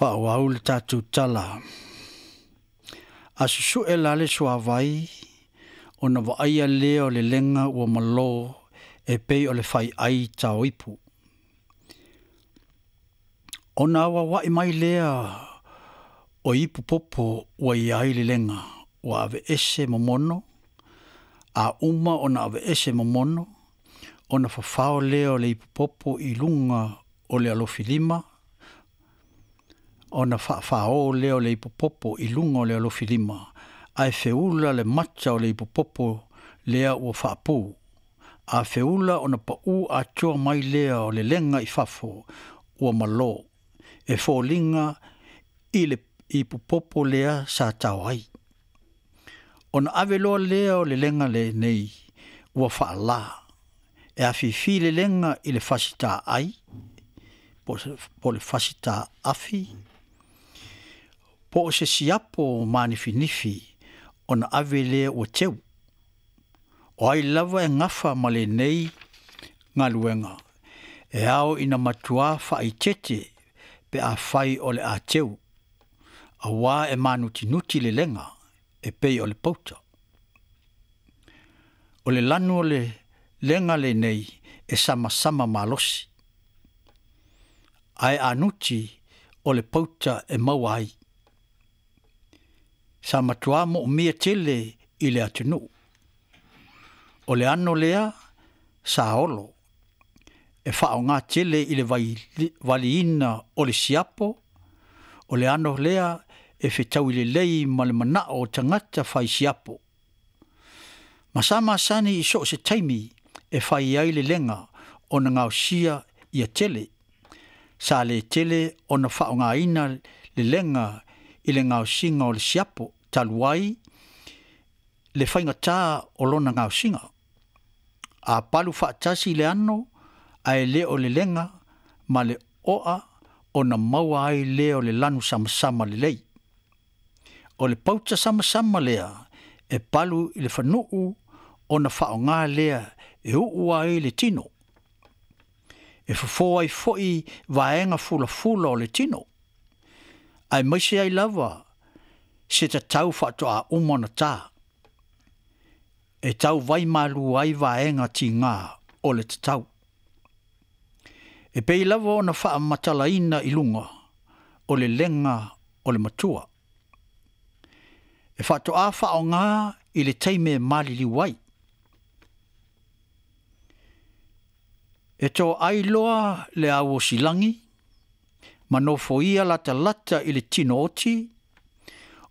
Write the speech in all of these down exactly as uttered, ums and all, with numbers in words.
Faaauau le tatou tala. A susu'e la le suavai ona vaaia lea o le lega ua malo e pei o le fai'ai taoipu. Ona auaua'i mai lea o ipu popo ua i ai le lega ua aveese momono, a uma ona aveese momono, ona fafao lea o le ipu popo i luga o le alofilima, ona faafaō lea o le ipu popo i luga o le alofilima, ae feula le mata o le ipu popo lea ua faapū. A feula ona paʻū atoa mai lea o le lega i fafo ua malō, e foliga i le ipu popo lea sa tao ai. Ona ave loa lea o le lega lenei ua faalā, e afifi le lega i le fasitaai, po o le fasitaafi, po o se siapo manifinifi ona ave lea ua teu. O ai lava e gafa ma lenei galuega, e ao ina matuā faaeteete pe afai o le a teu, auā e manutinuti le lega e pei o le pauta. O le lanu o le lega lenei e samasama malosi, ae anuti o le pauta e maua ai. Sa matuā moomia tele i le atunuu. O le ano lea sa olo, e faaaogā tele i le valiina o le siapo, o le ano lea e fetaui lelei ma le manao o tagata fai siapo. Ma sa masani i so o se taimi e fai ai le lega ona gaosia ia tele. Sa le tele ona faaaogaina le lega i le gaosiga o le siapo talu ai le faigatā o lona gaosiga. A palu faatasi le ano ae le o le lega ma le oa ona maua ai lea o le lanu samasama lelei. O le pauta samasama lea e palu i le fanuu ona faaaogā lea e uu ai le tino. E fofō ai fo'i vaega fulafula o le tino. Aemaise ai lava se tatau faatoa uma ona tā. E tau vai malu ai vaega tigā o le tatau. E pei lava ona faamatalaina i luga o le lega o le matua. E faatoa faaaogā i le taimi e maliliu ai. E toai loa le auosilagi ma nofoia latalata i le tino oti,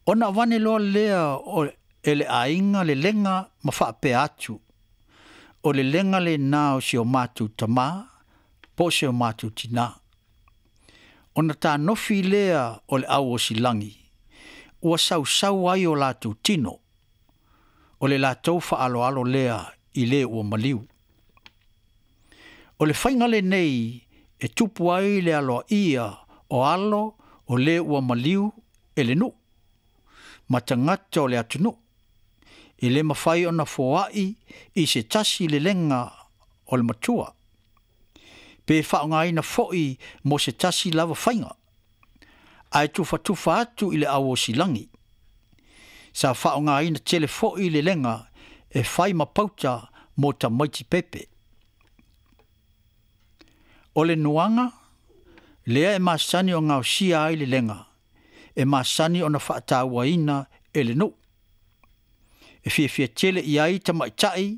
ona avane loa lea o e le aiga le lega ma faapea atu, o le lega lenā o si o matou tamā po o si o matou tinā. Ona tanofi lea o le auosilagi, ua sausau ai o latou tino, o le latou faaaloalo lea i le ua maliu. O le faiga lenei e tupu ai le aloaia o alo o le ua maliu e le nuu, ma tagata o le atunuu. E le mafai ona foai i se tasi le lega o le matua. Pe faaaogaina foi mo se tasi lava faiga, ae tufatufa atu i le auosilagi. Sa faaaogaina tele foi le lega e fai ma pauta mo tamaiti pepe. O le nuaga, lea e masani o gaosia ai le lega, e masani ona faatauaina e le nuu. E fiafia tele i ai tamaitai,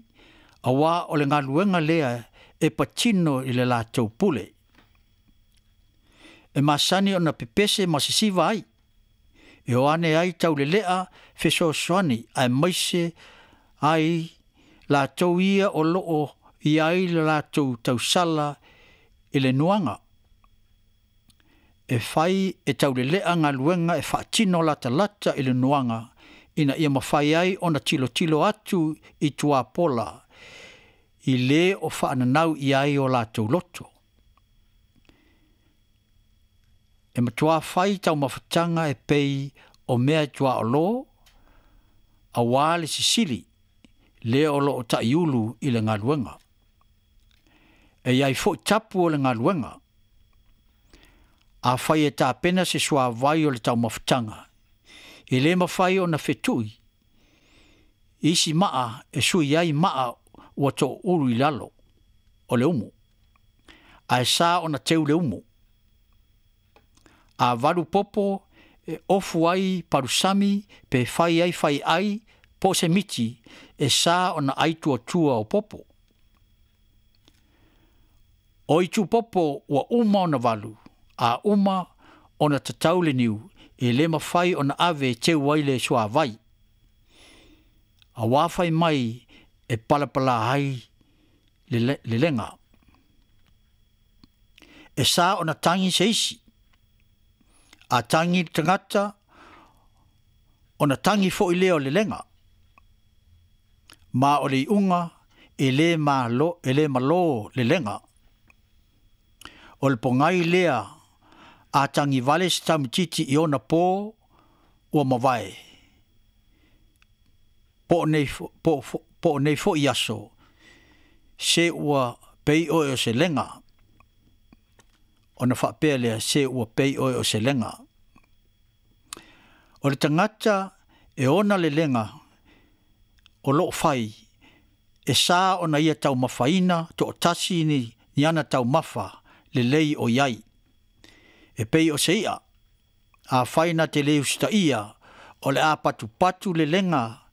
auā o le galuega lea e patino i le latou pule. E masani ona pepese ma sesiva ai, e o ane ai taulelea fesoasoani aemaise ai latou ia o loo i ai le latou tausala i le nuaga. E fai e taulelea galuega e faatino latalata i le nuaga ina ia mafai ai ona tilotilo atu i tuapola i le o faananau i ai o latou loto. E matuā fai taumafataga e pei o mea e tuaolō, auā le sisili lea o loo ta'iulu i le galuega. E i ai fo'i tapu o le galuega. Afai e tapena se suavai o le taumafataga, e lē mafai ona fetui isi maa e sui ai maa ua toulu i lalo o le umu, ae sa ona teu le umu. A valu popo e ofu ai palusami pe fai ai fai ai po o se miti, e sa ona ai tuatua o popo. O itu popo ua uma ona valu, a uma ona tatau le niu, e lē mafai ona ave e teu ai le suavai. Auā fai mai e palapalā ai le lega. E sa ona tagi se isi. A tagi le tagata, ona tagi foʻi lea o le lega. Ma o le iuga e lē malo, e lē malō le lega. O le pogai lea a tagi vale se taumatiti i ona pō ua mavae. Po o nei, po, po o nei foʻi aso, se ua pei oe o se lega. Ona faapea lea, se ua pei oe o se lega. O le tagata e ona le lega o loo fai, e sa ona ia taumafaina toatasi ni, ni ana taumafa lelei o iai. E pei o se ia, a fai na te le usitaia, o le a patupatu le lega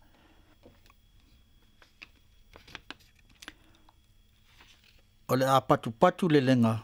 o le a patupatu le lega